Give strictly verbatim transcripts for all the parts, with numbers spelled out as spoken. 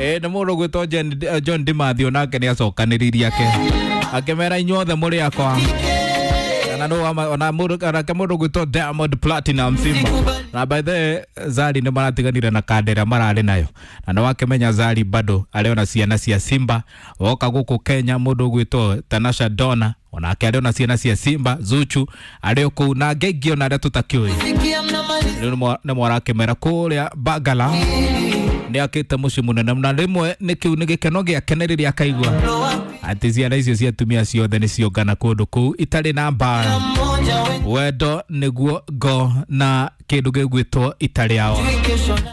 Eh nĩ mũndũ gwĩtwo John Dimathio nake nĩ acokanĩrĩirie ake akĩmera inyuothe mũrĩ akwa na no ona mũndũ nake mũndũ gwĩtwo Diamond Platinum Simba na by the Zari nĩ maratiganire na kandera mararĩ nayo na nĩ wakĩmenya Zari bado arĩ ciana cia Simba woka gũkũ Kenya mũndũ gwĩtwo Tanasha Donna onake arĩ ona ciana cia Simba Zuchu arĩ kũu na ngengio ona arĩa tũtakĩũĩ rĩu nĩ mwarakĩmera kũrĩa Bagala nĩ akĩte mũciĩ mũnene na rĩmwe nĩ kĩu nĩ gĩkeno gĩake nĩ rĩrĩa akaigua atĩ ciana icio cia atumia ciothe nĩ ciongana kũndũ kũu itarĩ na mbara wendo nĩguo ngo na kĩndũ gĩgwĩtwo ita rĩao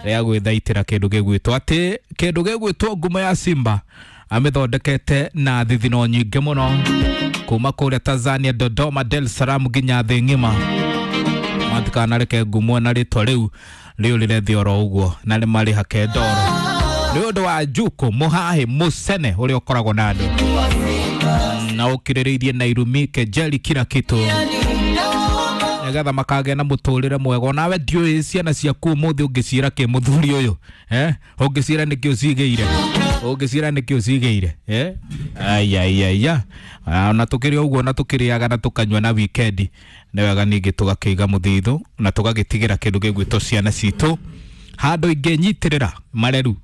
rĩa gwĩthaitĩra kĩndũ gĩgwĩtwo atĩ kĩndũ gĩgwĩtwo ngumo ya Simba amĩthondekete na thithino nyingĩ mũno kuma kũrĩa Tanzania Dodoma Dar es Salaam nginya thĩ ng'ima matikanareke ngumo na rĩtwa rĩu rĩũrĩre thĩ oro ũguo na nĩ marĩhake ndoro nĩ ũndũ wa Njuku mũhahi mũcene ũrĩa ũkoragwo na andũ na ũkirĩrĩirie na irumi kejeli kila kitu nĩgetha makagĩa na mũtũrĩre mwega onawe ndiũĩ ciana ciaku ũmũthĩ ũngĩciĩra kĩ mũthuri ũyũ eh ũngĩciĩra nĩkĩ ũcigĩire ũngĩciĩra nĩkĩ ũcigĩire eh aiaiaia ona tũkĩrĩ ũguo na tũkĩrĩaga na tũkanyua na wikendi nĩ wega ningĩ tũgakĩiga mũthithũ na tũgagĩtigĩra kĩndũ gĩgwĩtwo ciana citũ handũ ingĩnyitĩrĩra mareru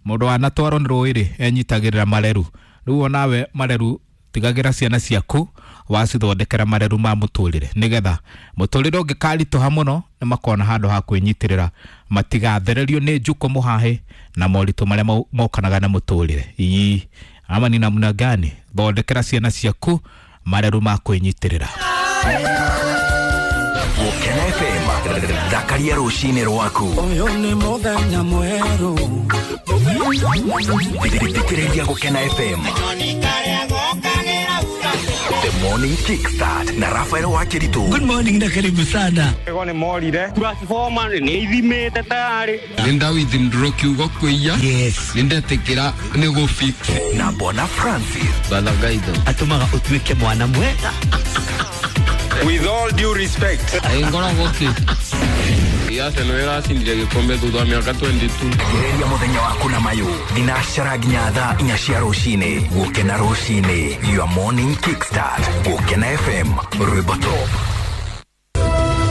mũndũ wanatwarwo nĩ rũĩ rĩ enyitagĩrĩra mareru rĩu onawe mareru tigagĩra ciana ciaku wacithondekera mareru ma mũtũrĩre nĩgetha mũtũrĩre ũngĩkaritũha mũno nĩ makona handũ ha kwĩnyitĩrĩra matigathererio nĩ njuko mũhahe na moritũ marĩa mokanaga na mũtũrĩre ii ama ni namna gani thondekera ciana ciaku mareru ma kwĩnyitĩrĩra. Gũkena F M thakaria rũcinĩ rwaku ũyũ nĩ mũthenya mwerũ thikĩrĩria Gũkena F M The Morning Kickstart na Rafael Wakiritu. Good morning na karibu sana. Ego ni morire. Transformer ni ithimite tayari. Linda withdraw kiugo kuiya. Yes. Nindetikira ni go fix. Na Bona Francis. Bala gaido. Atumaga utuike mwana mwega. With all due respect. Ngora goki. Ya se no era cindire gikombe thutha wa miaka twenty-two. Gereria muthenya waku na mayu thinacara nginya thaa inya cia rucini. Gukena rucini, your morning kickstart. Gukena F M rwimbo top.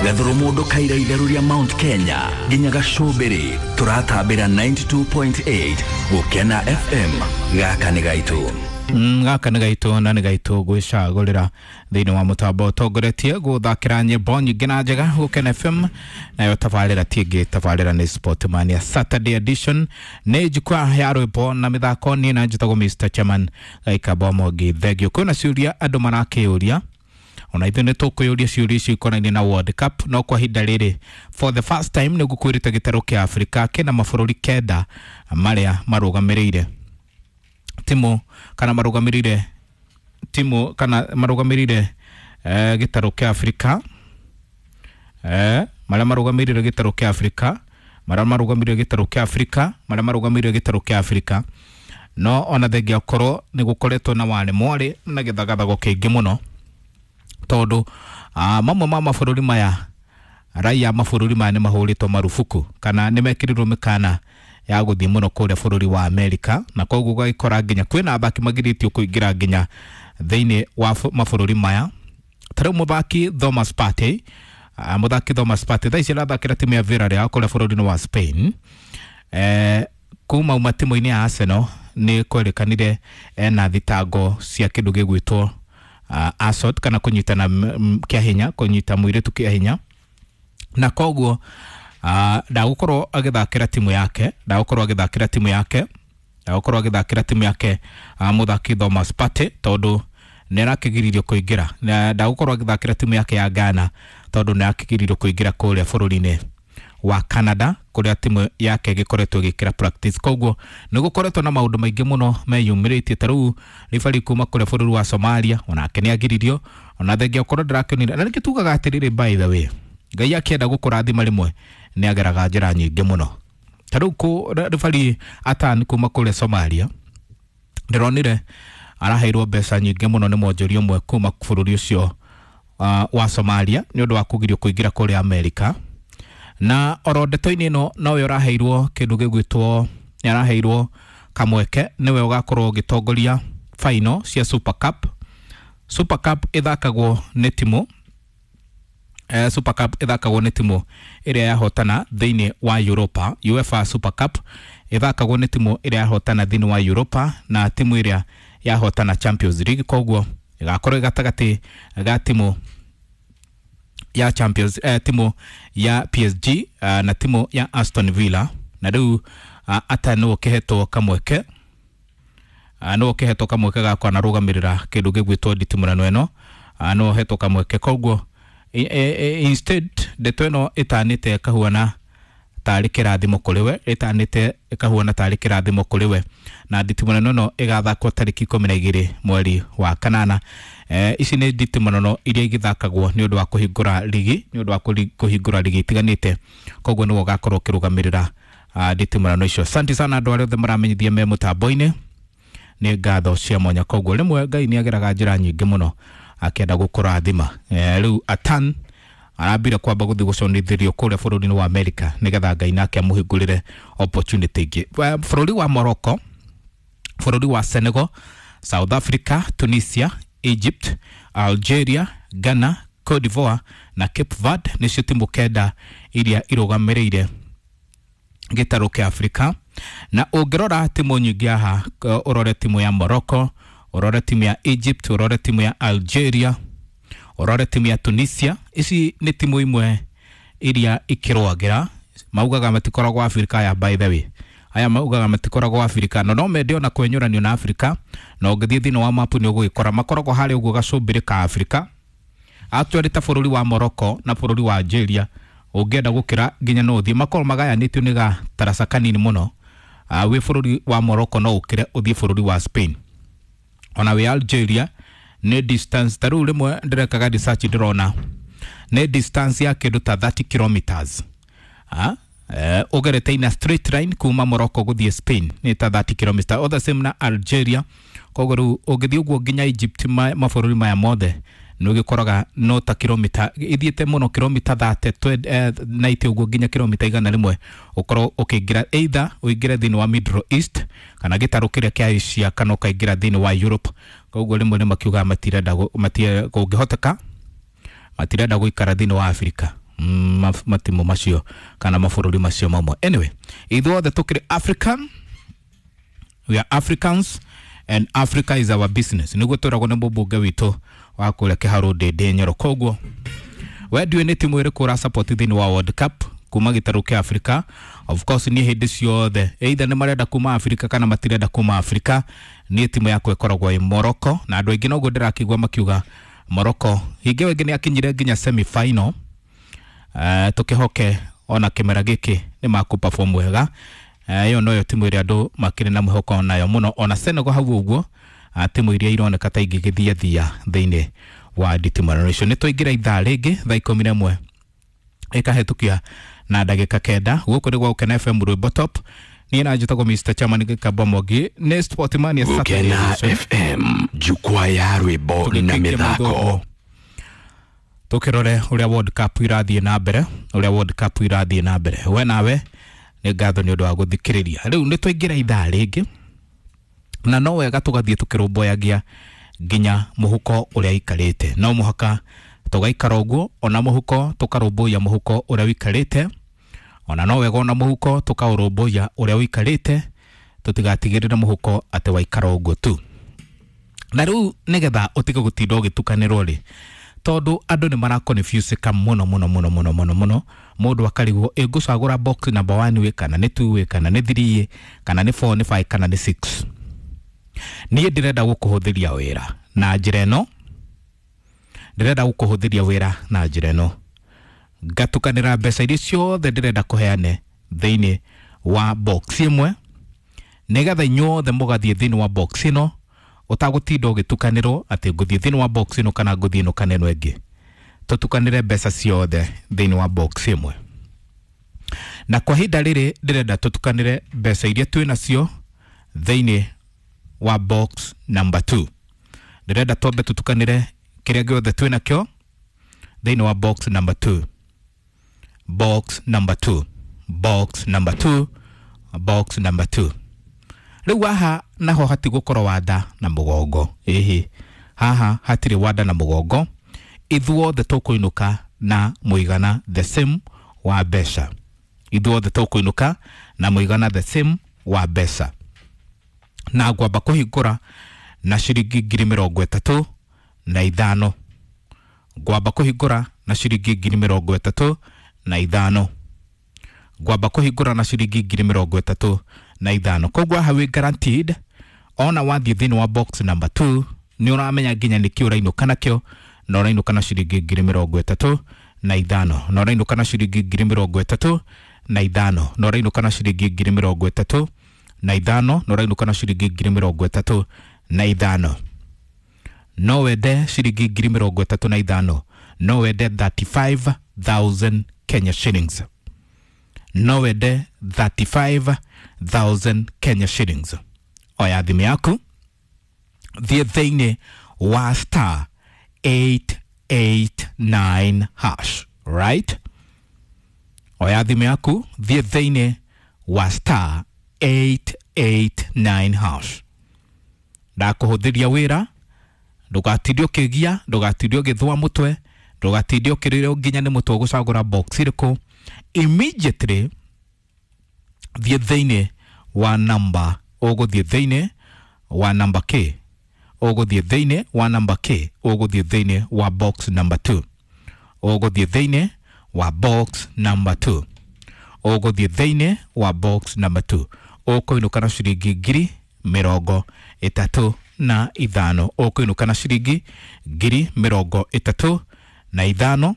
Gathuru mundu kaira itheru ria Mount Kenya nginya gacumbiri turatambira ninety-two point eight Gukena F M gaka ni gaitu. Gaka nĩ gaitũ na nĩ gaitũ gwĩcagũrĩra thĩinĩ wa mũtambo ũtongoretie gũthakĩra nyĩmbo nyingĩ na njega Gũkena F M nayo tabarĩra ti ĩngĩ tabarĩra nĩ Sportmania Saturday edition nĩ jukwaa ya rwĩmbo na mĩthako niĩ na njĩtagwo Mister Chairman Gaikamba Mwangi thengio kwĩna ciũria andũ marakĩũria ona ithuĩ nĩ tũkwĩyũria ciũria icio ikonainie na World Cup no kwa ihinda rĩrĩ for the first time nĩ ngũkwĩrĩte gĩtarũ kĩa Afrika kĩna mabũrũri kenda marĩa marũgamĩrĩire timu kana marugamirire timu kana marugamirire eh, gĩtarũ kĩa Afrika eh, marĩa marugamirire gĩtarũ kĩa Afrika marĩa marugamirire gĩtarũ kĩa Afrika marĩa marugamirire gĩtarũ kĩa Afrika no ona thengia korwo nĩ gũkoretwo na warĩ mwarĩ na gĩthagathago kĩingĩ mũno tondũ ah, mamwe ma mabũrũri maya raia mabũrũri maya nĩ mahũrĩtwo marubuku kana nĩ mekĩrirwo mĩkana ya gũthiĩ mũno kũrĩa bũrũri wa Amerika na koguo ũgagĩkora nginya kwĩna athaki magirĩtio kũingĩra nginya thĩinĩ wa mabũrũri maya ta rĩu mũthaki Thomas Partey uh, mũthaki Thomas Partey thaa ici arathakĩra timu ya Villarreal kũrĩa bũrũri-inĩ wa Spain eh, kuma uma timu-inĩ ya Arsenal nĩ kwerĩkanire ena thitango cia kĩndũ gĩgwĩtwo uh, assault kana kũnyitana kĩa hinya kũnyita mũirĩtu kĩa hinya na koguo Uh, ndagũkorwo agĩthakĩra timu yake ndagũkorwo agĩthakĩra timu yake ndagũkorwo agĩthakĩra timu yake uh, mũthaki Thomas Partey tondũ nĩ arakĩgiririo kũingĩra ndagũkorwo agĩthakĩra timu yake ya Ghana tondũ nĩ arakĩgiririo kũingĩra kũrĩa bũrũri-inĩ wa Canada kũrĩa timu yake ĩgĩkoretwo ĩgĩkĩra practice koguo nĩ gũkoretwo na maũndũ maingĩ mũno meyumĩrĩtie ta rĩu ribari kuma kũrĩa bũrũri wa Somalia onake nĩ agiririo ona thengia ũkorwo ndĩrakĩonire na nĩkĩo tugaga atĩrĩrĩ by the way Ngai akĩenda gũkũrathima rĩmwe nĩ ageraga njĩra nyingĩ mũno ta rĩu ribari Atan kuma kũrĩa Somalia ndĩronire araheirwo mbeca nyingĩ mũno nĩ mwonjoria ũmwe kuma bũrũri ũcio uh, wa Somalia nĩ ũndũ wa kũgirio kũingĩra kũrĩa Amerika na oro ndeto-inĩ ĩno nowe ũraheirwo kĩndũ gĩgwĩtwo nĩ araheirwo Kamweke niwe ugakorwo ugitongoria final cia Super Cup. Super Cup ithakagwo nĩ timu eh, Super Cup ithakagwo nĩ timu ĩrĩa yahotana thĩinĩ wa Europa. UEFA Super Cup ithakagwo nĩ timu ĩrĩa yahotana thĩinĩ wa Europa na timu ĩrĩa yahotana Champions League. Koguo ĩgakorwo gatagatĩ ga timu ya Champions eh, timu ya P S G uh, na timu ya Aston Villa. Na rĩu uh, ata nĩwe ũkĩhetwo kamweke uh, nĩwe ũkĩhetwo kamweke ga kwanarũgamĩrĩra kĩndũ gĩgwĩtwo nditimũrano ĩno, uh, nĩwe ũhetwo kamweke. Koguo e, e, instead ndeto ĩno ĩtanĩte ĩkahuana tarĩ kĩrathimo kũrĩ we, ĩtanĩte ĩkahuana tarĩ kĩrathimo kũrĩ we. Na nditimũrano ĩno ĩgathakwo tarĩki ikũmi na igĩrĩ mweri wa kanana. Eh, ici nĩ nditimũrano iria igĩthakagwo nĩ ũndũ wa kũhingũra ligi, nĩ ũndũ wa kũhingũra ligi itiganĩte. Koguo nĩwe ũgakorwo ũkĩrũgamĩrĩra uh, nditimũrano icio. Asante sana andũ arĩa othe maramenyithia me mũtambo-inĩ, nĩ ngatho cia mwanya. Koguo rĩmwe Ngai nĩ ageraga njĩra nyingĩ mũno akĩenda gũkũrathima. Eh, rĩu Atan arambire kwamba gũthiĩ gũconithĩrio kũrĩa bũrũri-inĩ wa America nĩgetha Ngai nake amũhingũrĩre opportunity ĩngĩ. Bũrũri wa Morocco, bũrũri wa Senegal, South Africa, Tunisia, Egypt, Algeria, Ghana, Cote d'Ivoire na Cape Verde nĩcio timu kenda iria irũgamĩrĩire gĩtarũ kĩa Afrika. Na ũngĩrora timu nyingĩ haha, ũrore timu ya Morocco, ũrore timu ya Egypt, ũrore timu ya Algeria, ũrore timu ya Tunisia, ici nĩ timu imwe iria ikĩrũagĩra. Maugaga matikoragwo Afrika ya, by the way aya maugaga matikoragwo Afrika, no no mende ona kwenyũranio na Afrika. Na ũngĩthiĩ thĩinĩ wa mapu nĩ ũgũgĩkora makoragwo harĩa ũguo gacũmbĩrĩ ka Afrika. Actually ta bũrũri wa Morocco na bũrũri wa Algeria ũngĩenda gũkĩra nginya no ũthiĩ, makorwo magayanĩtio nĩ gataraca kanini mũno. Uh, wĩ bũrũri wa Morocco no ũkĩre ũthiĩ bũrũri wa Spain. Ona wĩ Algeria nĩ distance, ta rĩu rĩmwe ndĩrekaga research ndĩrona nĩ distance ya kĩndũ ta thirty kilometers. Ah, eh, ũgerete ina straight line kuma Morocco gũthiĩ Spain nĩ ta thirty kilometers. All the same na Algeria. Koguo rĩu ũngĩthiĩ ũguo nginya Egypt, ma, mabũrũri maya mothe nĩ ũgĩkoraga no ta kilomita ithiĩte mũno kilomita thirty ninety ũguo nginya kilomita igana rĩmwe ũkorwo ũkĩingĩra either ũingĩre thĩinĩ wa Middle East kana gĩtarũ kĩrĩa kĩa Asia kana ũkaingĩra thĩinĩ wa Europe. Koguo rĩmwe nĩ makiugaga matirenda kũngĩhoteka matirenda gũikara thĩinĩ wa Afrika, mm, matimu macio kana mabũrũri macio mamwe. Anyway, ithuothe tũkĩrĩ African, we are Africans and Africa is our business. Nĩguo twĩragwo nĩ mũmbunge witũ wa kũrĩa Kĩharũ Ndĩndĩ Nyoro. Koguo we ndiũĩ nĩ timu ĩrĩkũ ũra support thĩinĩ wa World Cup kuma gĩtarũ kĩa Afrika. Of course niĩ hĩndĩ ciothe either nĩ marenda kuma Afrika kana matirenda kuma Afrika, niĩ timu yakwa ĩkoragwo ĩ Morocco. Na andũ aingĩ noguo ndĩrakĩigua makiuga Morocco hingo ĩngĩ nĩ akinyire nginya semi final. Uh, tũkĩhoke ona kĩmera gĩkĩ nĩ makũ perform wega. Ĩyo noyo timu ĩrĩa andũ makĩrĩ na mwĩhoko nayo mũno. Ona Senegal hau ũguo, timu iria ironeka ta ingĩgĩthiathia thĩinĩ wa nditimũrano icio. Nĩ twaingĩra ithaa rĩngĩ thaa ikũmi na ĩmwe ĩkahĩtũkia na ndagĩka kenda. Gũkũ nĩ gwa Gũkena F M Rwĩmbo Top. Niĩ na njĩtagwo Mister Chairman Gĩkamba Mwangi. Nĩ Sportmania Saturday Gũkena F M, jukwaa ya rwĩmbo na mĩthako. Tũkĩrore ũrĩa World Cup irathiĩ na mbere, ũrĩa World Cup irathiĩ na mbere. We nawe nĩ ngatho nĩ ũndũ wa gũthikĩrĩria. Rĩu nĩ twaingĩra ithaa rĩngĩ na no wega tũgathiĩ tũkĩrũmbũyagia nginya mũhuko ũrĩa ikarĩte. No mũhaka tũgaikara ũguo, ona mũhuko tũkarũmbũiya mũhuko ũrĩa ũikarĩte, ona no wega ona mũhuko tũkaũrũmbũiya ũrĩa ũikarĩte, tũtigatigĩrĩre mũhuko atĩ waikara ũguo tu. Na rĩu nĩgetha ũtige gũtinda ũgĩtukanĩrwo rĩ, tondũ andũ nĩ maraconfuseka mũno mũno mũno mũno mũno mũno. Mũndũ akarigwo ĩ ngũcagũra box number one wĩ kana nĩ two wĩ kana nĩ three kana nĩ four nĩ five kana nĩ six. Niĩ ndĩrenda gũkũhũthĩria wĩra na njĩra ĩno, ndĩrenda gũkũhũthĩria wĩra na njĩra ĩno, ngatukanĩra mbeca iria ciothe ndĩrenda kũheane thĩinĩ wa box ĩmwe, nĩgetha inyuothe mũgathiĩ thĩinĩ wa box ĩno ũtagũtinda ũgĩtukanĩrwo atĩ ngũthiĩ thĩinĩ wa box ĩno kana ngũthiĩ ĩno kana ĩno ĩngĩ. Tũtukanĩre mbeca ciothe thĩinĩ wa box ĩmwe. Na kwa ihinda rĩrĩ ndĩrenda tũtukanĩre mbeca iria twĩ nacio thĩinĩ wa box number two. Ndĩrenda twambe tũtukanĩre kĩrĩa gĩothe twĩ nakĩo thĩinĩ wa box number two. Box number two. Box number two. Box number two. Rĩu haha naho hatigũkorwo wanda na mũgongo. Ĩhĩ, haha hatirĩ wanda na mũgongo, ithuothe tũkũinũka na mũigana the same wa mbeca. Ithuothe tũkũinũka na mũigana the same wa mbeca. Na ngwamba kũhingũra na ciringi ngiri mĩrongo ĩtatũ na ithano. Ngwamba kũhingũra na ciringi ngiri mĩrongo ĩtatũ na ithano. Ngwamba kũhingũra na ciringi ngiri mĩrongo ĩtatũ na ithano. Koguo haha wĩ guaranteed, ona wathiĩ thĩinĩ wa box number two nĩ ũramenya nginya nĩkĩ ũrainũka nakĩo, na ũrainũka na ciringi ngiri mĩrongo ĩtatũ na ithano, na ũrainũka na ciringi ngiri mĩrongo ĩtatũ na ithano, na ũrainũka na ciringi ngiri mĩrongo ĩtatũ na ithano, na ũrainũka na ciringi ngiri mĩrongo ĩtatũ na ithano. No wende ciringi ngiri mĩrongo ĩtatũ na ithano, no wende thirty-five thousand Kenya shillings, no wende thirty-five thousand Kenya shillings. Oya thimũ yaku, thiĩ thĩinĩ wa star eight eight nine hash, right? Oya thimũ yaku, thiĩ thĩinĩ wa star eight eight nine hash. Ndakũhũthĩria wĩra, ndũgatinde ũkĩgia, ndũgatinde ũgĩthũa mũtwe, ndũgatinde ũkĩrĩrwo nginya nĩ mũtwe ũgũcagũra box ĩrĩkũ. Immediately thiĩ thĩinĩ wa namba, ũgũthiĩ thĩinĩ wa namba K, ũgũthiĩ thĩinĩ wa namba K, ũgũthiĩ thĩinĩ wa box number two, ũgũthiĩ thĩinĩ wa box number two, ũgũthiĩ thĩinĩ wa box number two. Ũkũinũka na ciringi ngiri mĩrongo ĩtatũ na ithano, ũkũinũka na ciringi ngiri mĩrongo ĩtatũ na ithano.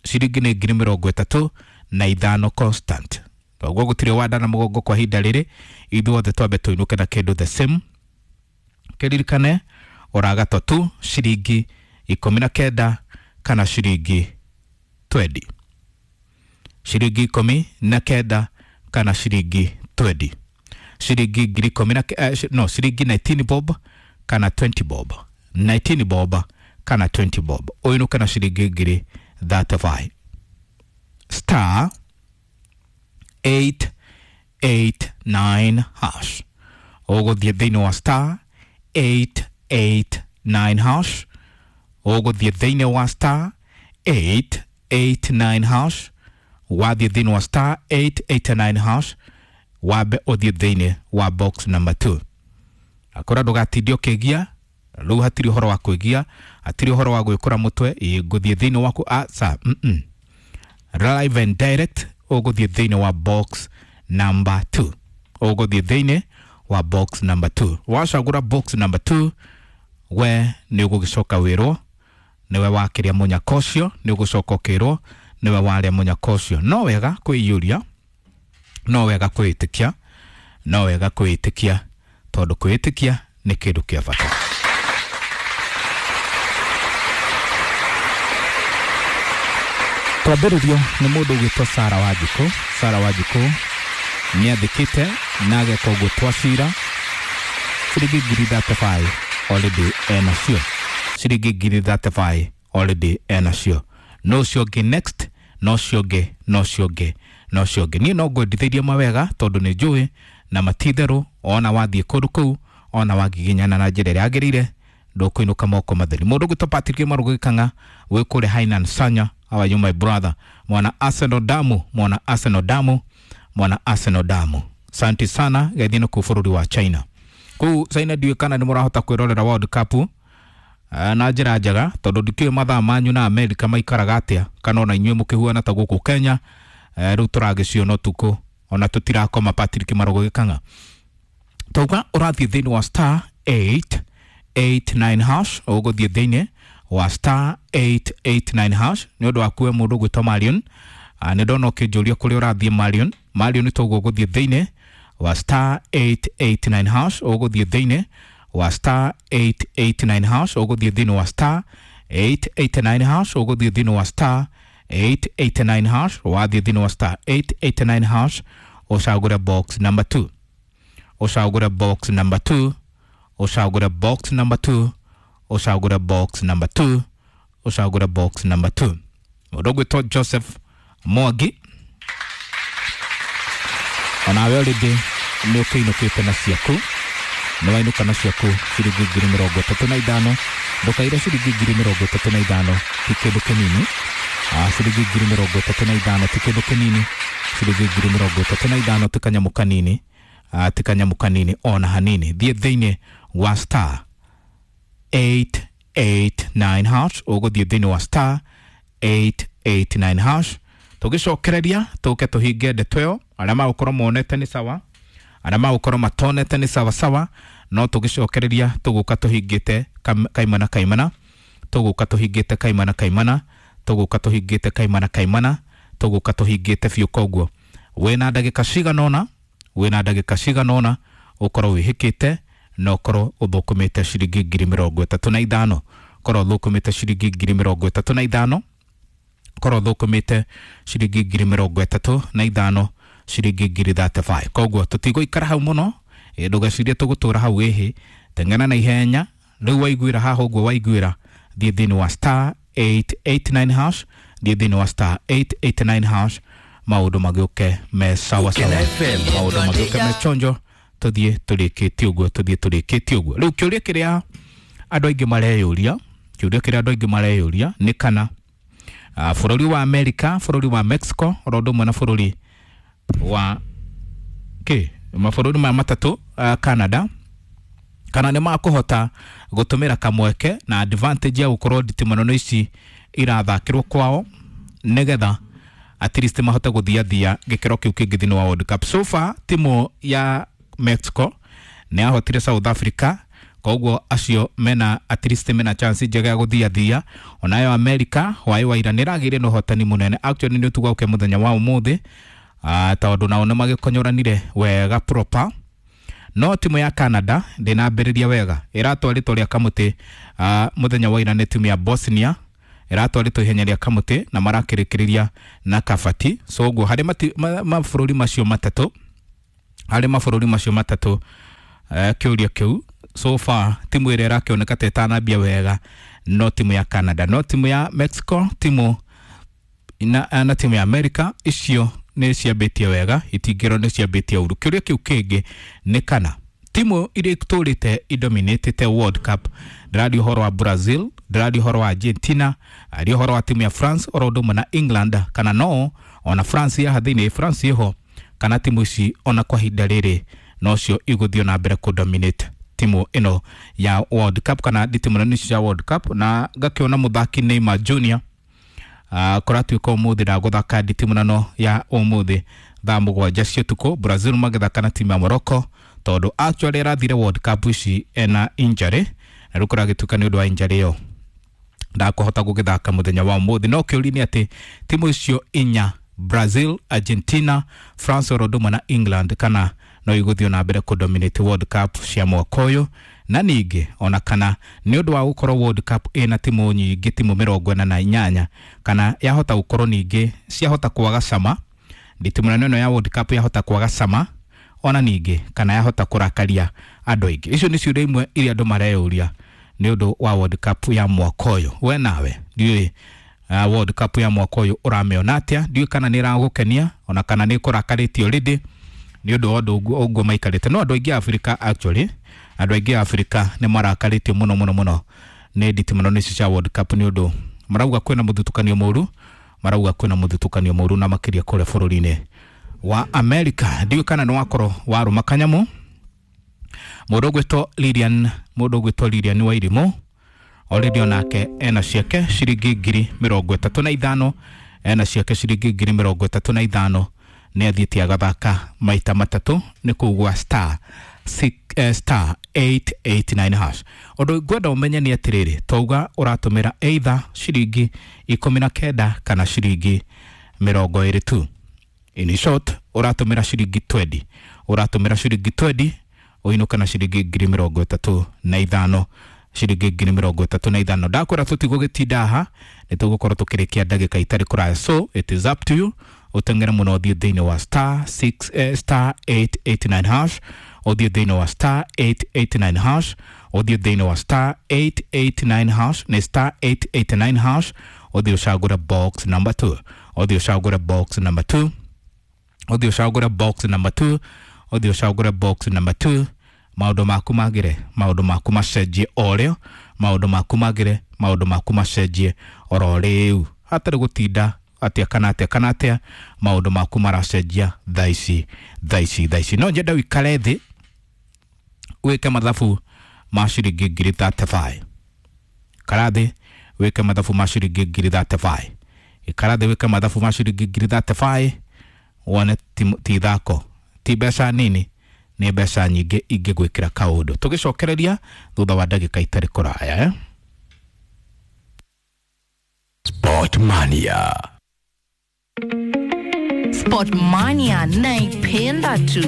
Ciringi nĩ ngiri mĩrongo ĩtatũ na ithano constant. Koguo gũtirĩ wanda na mũgongo kwa ihinda rĩrĩ, ithuothe twambe tũinũke na kĩndũ the same. Kĩririkane ũragatwa tu ciringi ikũmi na kenda kana ciringi twendi, ciringi ikũmi na kenda kana ciringi twendi, ciringi ngiri ikũmi na eh, no ciringi nineteen bob kana twenty bob, nineteen bob kana twenty bob, ũinũke na ciringi ngiri thirty-five. Star eight eight nine hash, ũgũthiĩ thĩinĩ wa star eight eight nine hash, ũgũthiĩ thĩinĩ wa star eight eight nine hash, wathiĩ thĩinĩ wa star eight eight nine hash, wambe ũthiĩ thĩinĩ wa box number two. Akora ndũgatinde ũkĩgia, rĩu hatirĩ ũhoro wa kwĩgia, hatirĩ ũhoro wa gwĩkũra mũtwe, ĩ ngũthiĩ thĩinĩ waku aca, mm -mm. Live and direct ũgũthiĩ thĩinĩ wa box number two, ũgũthiĩ thĩinĩ wa box number two. Wacagũra box number two, we nĩ ũgũgĩcoka wĩrwo nĩwe wakĩrĩa mũnyaka ũcio, nĩ ũgũcoka ũkĩrwo nĩwe warĩa mũnyaka ũcio. No wega kwĩiyũria, no wega kwĩĩtĩkia, no wega kwĩĩtĩkia, tondũ kwĩĩtĩkia nĩ kĩndũ kĩa bata. Twambĩrĩrio nĩ mũndũ ũgwĩtwo Sara Wanjikũ. Sara Wanjikũ nĩ athĩkĩte na ageka ũguo twacira ciringi ngiri thirty-five already enacio, ciringi ngiri thirty-five already enacio. No ũcio ũngĩ next, no ũcio ũngĩ, no ũcio ũngĩ, no ũcio ũngĩ. Niĩ no ngwendithĩirie mawega tondũ nĩ njũĩ na matitherũ, ona wathiĩ kũndũ kũu, ona wagiginyana na njĩra ĩrĩa yagĩrĩire, ndũkũinũka moko matheri. Mũndũ ũgwĩtwo Patrick Marugu Gĩkang'a wĩ kũrĩa Hainan Sanya, how are you my brother? Mwana Arsenal damu, mwana Arsenal damu, mwana Arsenal damu. Asante sana gethino kuu bũrũri wa China. Kuu China ndiũĩ kana nĩ mũrahota kwĩrorera World Cup na njĩra njega, tondũ ndikĩũĩ mathaa manyu na America maikaraga atĩa, kana ona inyuĩ mũkĩhuana ta gũkũ Kenya. Rĩu tũragĩciona ũtukũ ona tũtirakoma. Patrick Marugu Gĩkang'a, tauga ũrathiĩ thĩinĩ wa star eight eight nine hash, ũgũthiĩ thĩinĩ wa star eight eight nine hash nĩ ũndũ waku we mũndũ ũgwĩtwo Marion. Nĩ ndona ũkĩnjũria kũrĩa ũrathiĩ Marion. Marion toguo ũgũthiĩ thĩinĩ wa star eight eight nine hash, ũgũthiĩ thĩinĩ wa star eight eight nine hash, ũgũthiĩ thĩinĩ wa star eight eight nine hash, ũgũthiĩ thĩinĩ wa star eight eight nine hash, wathiĩ thĩinĩ wa star eight eight nine hash, ũcagũre box number two, ũcagũre box number two, ũcagũre box number two, ũcagũre box number two, ũcagũre box number two. Mũndũ ũgwĩtwo Joseph Mwangi, onawe already nĩ ũkĩinũkĩte na ciaku. Nĩ wainũka na ciaku ciringi ngiri mĩrongo ĩtatũ na ithano. Ndũkaire ciringi ngiri mĩrongo ĩtatũ na ithano ti kĩndũ kĩnini. Ah, ciringi ngiri mĩrongo ĩtatũ na ithano ti kĩndũ kĩnini. Ciringi ngiri mĩrongo ĩtatũ na ithano ti kanyamũ kanini. Ah, ti kanyamũ kanini ona hanini. Thiĩ thĩinĩ wa star eight eight nine hash, ũgũthiĩ thĩinĩ wa star eight eight nine hash. Tũgĩcokereria tũke tũhinge ndeto ĩyo. Arĩa magũkorwo monete nĩ sawa, arĩa magũkorwo matonete nĩ sawa sawa, no tũgĩcokereria tũgũka tũhingĩte kaimana kaimana, tũgũka tũhingĩte kaimana kaimana, tũgũka tũhingĩte kaimana kaimana, tũgũka tũhingĩte biũ. Koguo wĩna ndagĩka cigana ũna, wĩna ndagĩka cigana ũna ũkorwo wĩhĩkĩte na ũkorwo ũthũkũmĩte ciringi ngiri mĩrongo ĩtatũ na ithano. Korwo ũthũkũmĩte ciringi ngiri mĩrongo ĩtatũ na ithano, korwo ũthũkũmĩte ciringi ngiri mĩrongo ĩtatũ na ithano, ciringi ngiri thirty five. Koguo tũtigũikara hau mũno, ndũgecirie tũgũtũra hau ĩhĩ. Teng'era na ihenya rĩu waiguĩra haha ũguo waiguĩra, thiĩ thĩinĩ wa star eight eight nine hash, thiĩ thĩinĩ wa star eight eight nine hash, maũndũ magĩũke me sawa sawa, maũndũ magĩũke me chonjo, tũthiĩ tũrĩkĩtie ũguo, tũthiĩ tũrĩkĩtie ũguo. Rĩu kĩũria kĩrĩa andũ aingĩ mareyũria, kĩũria kĩrĩa andũ aingĩ mareyũria nĩ kana uh, bũrũri wa America, bũrũri wa Mexico, oro ũndũ ũmwe na bũrũri wa kĩ mabũrũri maya matatũ, uh, Canada, kana nĩ makũhota gũtũmĩra kamweke na advantage ya gũkorwo nditimano ici irathakĩrwo kwao nĩgetha at least mahote gũthiathia gĩkĩro kĩu kĩngĩ thĩinĩ wa World Cup. So far timu ya Mexico nĩ yahotire South Africa, koguo acio mena at least mena chance njega ya gũthiathia. Onayo America hwaĩ wa ira nĩ ĩragĩire na ũhotani mũnene, actually nĩ ũtugauke mũthenya wa ũmũthĩ, uh, tondũ nao nĩ magĩkonyoranire wega proper. No timu ya Canada ndĩnambĩrĩria wega, ĩratwarĩtwo rĩa kamũtĩ uh, mũthenya wa ira nĩ timu ya Bosnia, ĩratwarĩtwo ihenya rĩa kamũtĩ na marakĩrĩkĩrĩria na kabati. So ũguo harĩ mabũrũri macio matatũ, harĩ mabũrũri macio matatũ, uh, kĩũria kĩu so far timu ĩrĩa ĩrakĩoneka ta ĩtanambia wega no timu ya Canada, no timu ya Mexico, timu na, na timu ya America, icio nĩ ciambĩtie wega, itingĩrwo nĩ ciambĩtie ũru. Kĩũria kĩu kĩngĩ nĩ kana timu iria itũrĩte idominatĩte World Cup, ndĩraria ũhoro wa Brazil, ndĩraria ũhoro wa Argentina, aria ũhoro wa timu ya France oro ũndũ ũmwe na England, kana no ona France yaha thĩinĩ, France ĩho, kana timu ici ona kwa ihinda rĩrĩ nocio igũthiĩ na mbere kũdominate timu ĩno ya World Cup, kana nditimũrano ici cia World Cup. Na ngakĩona mũthaki Neymar Junior Uh, kũratuĩka ũmũthĩ ndagũthaka nditimũrano ya ũmũthĩ thaa mũgwanja cia ũtukũ, Brazil magĩthaka na timu ya Morocco, tondũ actually ĩrathire World Cup ici ena injury, na rĩu kũragĩtuĩka nĩ ũndũ wa injury ĩyo ndakũhota gũgĩthaka mũthenya wa ũmũthĩ. No kĩũria nĩ atĩ timu icio inya, Brazil, Argentina, France oro ũndũ ũmwe na England, kana no igũthiĩ na mbere kũdominate World Cup cia mwaka ũyũ, na ningĩ ona kana nĩ ũndũ wa gũkorwo World Cup ĩna timu nyingĩ, timu mĩrongo ĩna na inyanya, kana yahota gũkorwo ningĩ ciahota kwaga cama, nditimũrano ĩno ya World Cup yahota kwaga cama, ona ningĩ kana yahota kũrakaria andũ aingĩ. Icio nĩ ciũria imwe iria andũ mareyũria nĩ ũndũ wa World Cup ya mwaka ũyũ. We nawe ndiũĩ uh, World Cup ya mwaka ũyũ ũramĩona atĩa? Ndiũĩ kana nĩ ĩragũkenia ona kana nĩ ĩkũrakarĩtie already nĩ ũndũ wa ũndũ ũguo maikarĩte. No andũ aingĩ a Africa actually, andũ aingĩ a Africa nĩ marakarĩtio mũno mũno mũno nĩ nditimũrano ici cia World Cup, nĩ ũndũ marauga kwĩna mũthutũkanio mũru, marauga kwĩna mũthutũkanio mũru na makĩria kũrĩa bũrũri-inĩ wa America. Ndiũĩ kana nĩ wakorwo warũma kanyamũ. Mũndũ ũgwĩtwo Lilian, mũndũ ũgwĩtwo Lilian Wairimu already onake ena ciake ciringi ngiri mĩrongo ĩtatũ na ithano, ena ciake ciringi ngiri mĩrongo ĩtatũ na ithano, nĩ athiĩte agathaka maita matatũ nĩ kũu gwa star six, eh, star eight eight nine hash. Ũndũ ngwenda ũmenye nĩ atĩrĩrĩ, twauga ũratũmĩra either ciringi ikũmi na kenda kana ciringi mĩrongo ĩrĩ tu. In short, ũratũmĩra ciringi twenty, ũratũmĩra ciringi twenty ũinũke na ciringi ngiri mĩrongo ĩtatũ na ithano, ciringi ngiri mĩrongo ĩtatũ na ithano. Ndakwĩra tũtigũgĩtinda haha, nĩ tũgũkorwo tũkĩrĩkia ndagĩka itarĩ kũraya, so it is up to you. Ũteng'ere mũno ũthiĩ thĩinĩ wa star six, eh, star eight eight nine hash, ũthiĩ thĩinĩ wa star eight eight nine hash, ũthiĩ thĩinĩ wa star eight eight nine hash, nĩ star eight eight nine hash, ũthiĩ ũcagũre box number two, ũthiĩ ũcagũre box number two, ũthiĩ ũcagũre box number two, ũthiĩ ũcagũre box number two, Maũndũ maku magĩre, maũndũ maku macenjie o rĩo, maũndũ maku magĩre, maũndũ maku macenjie oro rĩu, hatarĩ gũtinda atĩa kana atĩa kana atĩa. Maũndũ maku maracenjia thaa ici, thaa ici, thaa ici. No nyende wikare thĩ wĩke mathabu ma ciringi ngiri thirty-five. Ikara thĩ wĩke mathabu ma ciringi ngiri thirty-five. Ikara thĩ wĩke mathabu ma ciringi ngiri thirty-five, wone ti ti ithako, ti mbeca nini, nĩ mbeca nyingĩ ingĩgwĩkĩra kaũndũ. Tũgĩcokereria thutha wa ndagĩka itarĩ kũraya, eh? Sport Mania. Sport Mania naipenda tu.